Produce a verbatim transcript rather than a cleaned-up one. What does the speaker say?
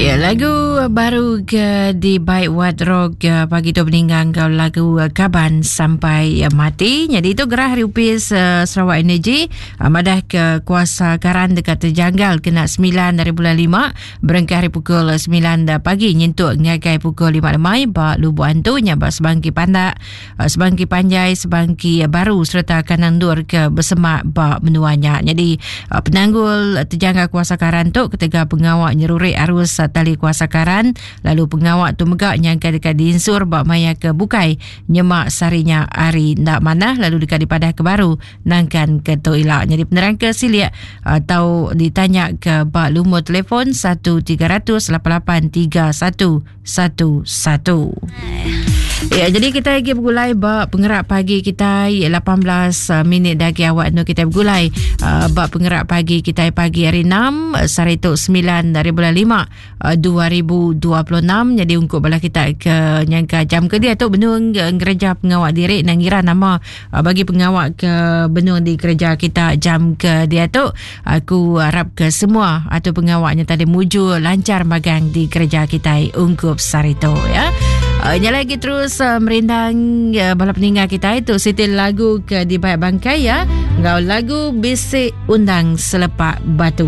Ya, lagu baru ke di by Wat Rock eh, pagi tu meninggal kau lagu eh, Kaban Sampai eh, Mati. Jadi itu gerah hari upis Sarawak Energy madah ke kuasa karan dekat terjanggal kena sembilan dari bulan lima berengkah hari pukul sembilan pagi nyentuk ngagai pukul lima lemai ba Lubuk Antu nya ba Sebangki Pandak, Sebangki Panjai, Sebangki Baru serta kanan dur ke bersemak ba menuanya. Jadi penanggul terjanggal kuasa karan tu ketika pengawak nyeruri arus tali kuasa karan lalu pengawak tu megak nyangka dekat diinsur bak maya ke bukai nyemak sarinya hari ndak mana lalu dekat dipadah ke baru nangkan ke tu ila. Jadi penerang ke siliak atau ditanya ke bak lumur telefon satu tiga ratus lapan lapan tiga satu satu satu. Ya, jadi kita lagi bergulai bak pengerak pagi kita lapan belas minit dagi awak nu kita bergulai uh, bak pengerak pagi kita pagi hari enam sehari tu sembilan dari bulan lima dua ribu dua puluh enam. Jadi ungkup bala kita ke nyangka jam ke dia tu benung gereja pengawak diri nang ngira nama uh, bagi pengawak ke benung di gereja kita jam ke dia tu aku harap ke semua atau pengawaknya tadi muju lancar magang di gereja kita ungkup sehari tu ya. Uh, nyala lagi terus uh, merindang uh, bala peninggal kita itu siti lagu ke di Bayak Bangkai ya. Ngau lagu Bisik Undang Selepak Batu.